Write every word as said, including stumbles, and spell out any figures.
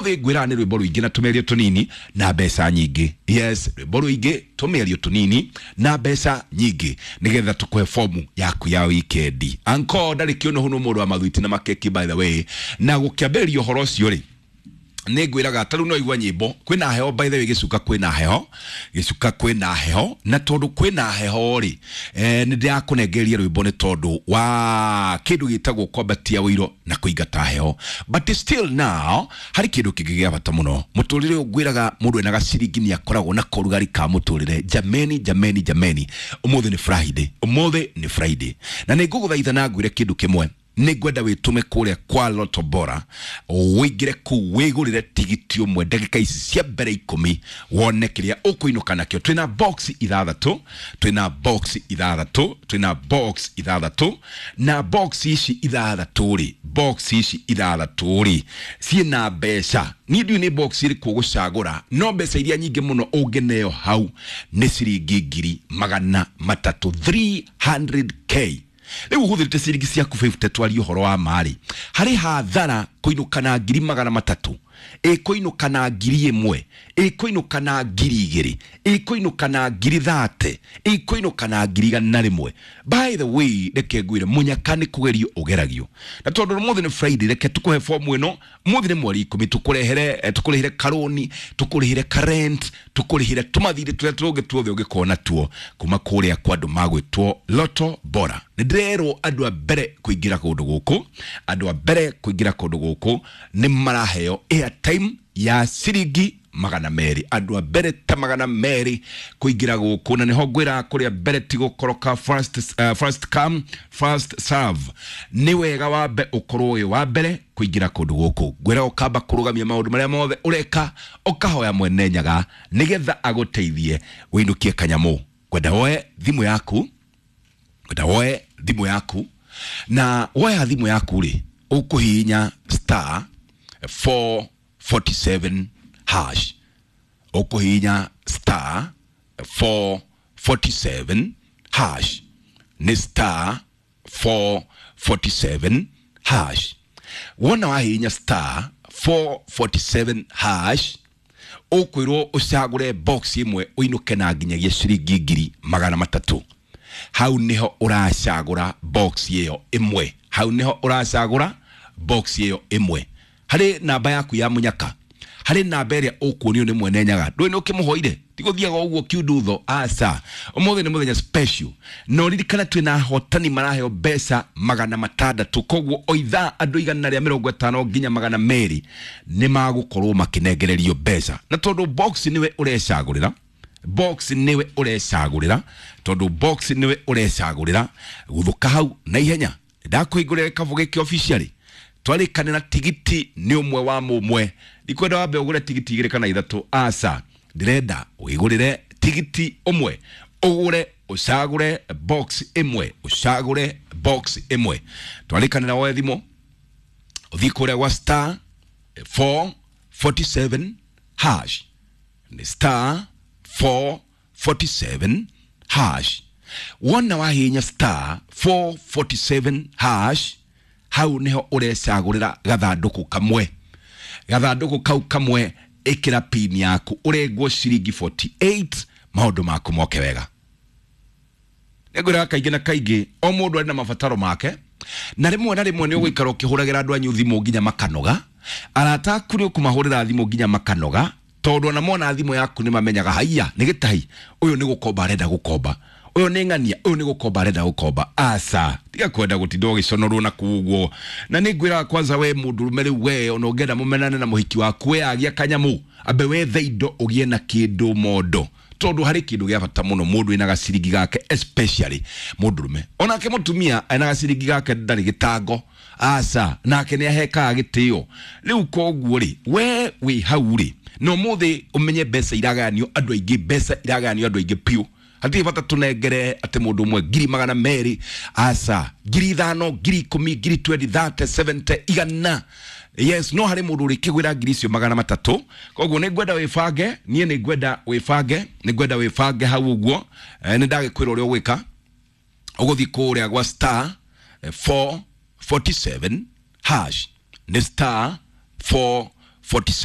Ũmũthĩ ngwĩraga nĩ rwĩmbo rũingĩ na tũmĩario tũnini na mbeca nyingĩ. Yes, rwĩmbo rũingĩ, tũmĩario tũnini na mbeca nyingĩ, nĩgetha tũkũhe fomu yaku ya wikendi. Anko ndarĩ kĩũnũhu nĩ mũndũ wa mathwiti na makeki, by the way. Na gũkĩambĩrĩria ũhoro ũcio rĩ, nĩ ngwĩraga ta rĩu no igua nyĩmbo kwĩna heho. By the way, gĩcuka kwĩna heho, gĩcuka kwĩna heho. Na tondũ kwĩna heho rĩ, eh, nĩ ndĩrakũnengeria rwĩmbo nĩ tondũ wa kĩndũ gĩtagwo kwambatia ũiro na kũingata heho. But still now harĩ kĩndũ kĩngĩ gĩa bata mũno mũtũrĩre ũyũ. Ngwĩraga mũndũ ena gaciringi nĩ akoragwo na korugari ka mũtũrĩre. Jameni, jameni, jameni, ũmũthĩ nĩ Friday, ũmũthĩ nĩ Friday, na nĩ ngũgũthaitha na ngwĩre kĩndũ kĩmwe. Nĩ ngwenda wĩtũme kũrĩa kwa Lotto Bora, wĩingĩre kũu wĩgũrĩre tigiti ũmwe ndagĩka ici cia mbere ikũmi, wone kĩrĩa ũkũinũka nakĩo. Twĩna box ithathatũ, twĩna box ithathatũ, twĩna box ithathatũ. Na box ici ithathatũ rĩ, box ici ithathatũ rĩ, ciĩna mbeca. Niĩ ndiũĩ nĩ box ĩrĩkũ ũgũcagũra, no mbeca iria nyingĩ mũno ũngĩneo hau nĩ ciringi ngiri magana matatũ, three hundred k. Rĩu ũhũthĩrĩte ciringi ciaku mĩrongo ĩtano, twarie ũhoro wa marĩ harĩ hathara kũinũka na ngiri magana matatũ, ĩkũinũka na ngiri ĩmwe, ĩkũinũka na ngiri igĩrĩ, ĩkũinũka na ngiri thate, ĩkũinũka na ngiri igana rĩmwe. By the way, reke ngwĩre, mũnyaka nĩ kũgerio ũgeragio. Na tondũ ũmũthĩ nĩ Friday, reke tũkũhe fomu ĩno. Ũmũthĩ nĩ mweri ikũmi, tũkũrehere eh, tũkũrĩhĩre karoni, tũkũrĩhĩre karent, tũkũrĩhĩre tũmathirĩ tũrĩa tũngĩ tuothe ũngĩkorwo natuo kuma kũrĩa kwa andũ magwĩtwo Lotto Bora. Nĩ ndĩrerwo andũ a mbere kũingĩra kũndũ gũkũ, andũ a mbere kũingĩra kũndũ gũkũ nĩ maraheo airtime ya ciringi magana merĩ. Andũ a mbere ta magana merĩ kũingĩra gũkũ, na nĩho ngwĩra kũrĩa mbere ti gũkoroka. First, uh, first come, first serve. Nĩ wega wambe ũkorwo wĩ wa mbere kũingĩra kũndũ gũkũ. Ngwĩra ũkamba kũrũgamia maũndũ marĩa mothe ũreka, ũkahoya Mwene Nyaga nĩgetha agũteithie wĩinũkie kanyamũ. Ngwenda woe thimũ yaku, ngwenda woe thimũ yaku. Na woya thimũ yaku rĩ, ũkũhihinya star four forty-seven hash, ũkũhihinya star four forty-seven hash, nĩ star four forty-seven hash. Wona wahihinya star four forty-seven hash, ũkwĩrwo ũcagũre box ĩmwe ũinũke na nginyagia ciringi ngiri magana matatũ. Hau niho ũracagũra box ĩyo ĩmwe, hau niho ũracagũra box ĩyo ĩmwe harĩ namba yaku ya mũnyaka, harĩ namba ĩrĩa ũkuonio nĩ Mwene Nyaga. Ndũĩ nĩ ũkĩmũhoire, tigũthiaga ũguo kiundutho, aca. Ũmũthĩ nĩ mũthenya special, na ũririkane twĩna ahotani maraheo mbeca magana matandatũ. Koguo o ithaa andũ igana rĩa mĩrongo ĩtano nginya magana merĩ nĩ magũkorwo makĩnengererio mbeca. Na tondũ box nĩwe ũrecagũrĩra, box nĩwe ũrecagũrĩra, tondũ box nĩwe ũrecagũrĩra, guthũka hau na ihenya. Ndakũhingũrĩra gĩkabũ gĩkĩ officially. Twarĩkanĩra tigiti nĩ ũmwe wa mũmwe. Ndikwenda wambe ũgũre tigiti igĩrĩ kana ithatũ, aca. Ndĩrenda wĩgũrĩre tigiti ũmwe, ũgũre ũcagũre box ĩmwe, ũcagũre box ĩmwe. Twarĩkanĩra woe thimũ, ũthiĩ kũrĩa gwa star four forty-seven hash, nĩ star four forty-seven hash. Wona wahihinya star four forty-seven hash, hau niho ũrecagũrĩra gathandũkũ kamwe. Gathandũkũ kau kamwe, ĩkĩra pin yaku, ũrengwo ciringi mĩrongo ĩnana na nyanya, maũndũ maku moke wega. Nĩngwĩraga kaingĩ na kaingĩ, o mũndũ arĩ na mabataro make, na rĩmwe na rĩmwe nĩ ũgũikara ũkĩhũragĩra andũ anyu thimũ nginya makanoga. Arata aku nĩ ũkũmahũrĩra thimũ nginya makanoga, tondũ ona mona thimũ yaku nĩ mamenyaga, haiya, nĩ gĩtahi ũyũ, nĩ gũkomba arenda gũkomba, ũyũ nĩ ng'ania, ũyũ nĩ gũkomba arenda gũkomba. Aca, tiga kwenda gũtinda ũgĩconorwo na kũu ũguo. Na nĩ ngwĩraga kwanza we mũndũrũme rĩu, we ona ũngĩenda mũmenane na mũhiki waku, we agia kanyamũ, ambe wethe indo ũgĩe na kĩndũ mondo, tondũ harĩ kĩndũ gĩa bata mũno mũndũ ena gaciringi gake, especially mũndũrũme. Onake mũtumia ena gaciringi gake ndarĩ gĩtango, aca, nake nĩ ahekaga gĩtĩo. Rĩu koguo rĩ, we wĩ hau rĩ, na ũmũthĩ ũmenye mbeca iragayanio andũ aingĩ, mbeca iragayanio andũ aingĩ piũ. Hatirĩ bata tũnengere atĩ mũndũ ũmwe ngiri magana merĩ, aca. Ngiri ithano, ngiri ikũmi, ngiri mĩrongo ĩrĩ, mĩrongo ĩtatũ, mĩrongo mũgwanja, igana. Yes, no harĩ mũndũ ũrĩkĩgwĩra ngiri icio magana matatũ. Koguo nĩ ngwenda wĩbange, niĩ nĩ ngwenda wĩbange, nĩ ngwenda wĩbange hau ũguo. eh, nĩ ndagĩkwĩra ũrĩa ũgwĩka. Ũgũthiĩ kũrĩa gwa star eh, four forty-seven hash, nĩ star four forty-seven forty-seven.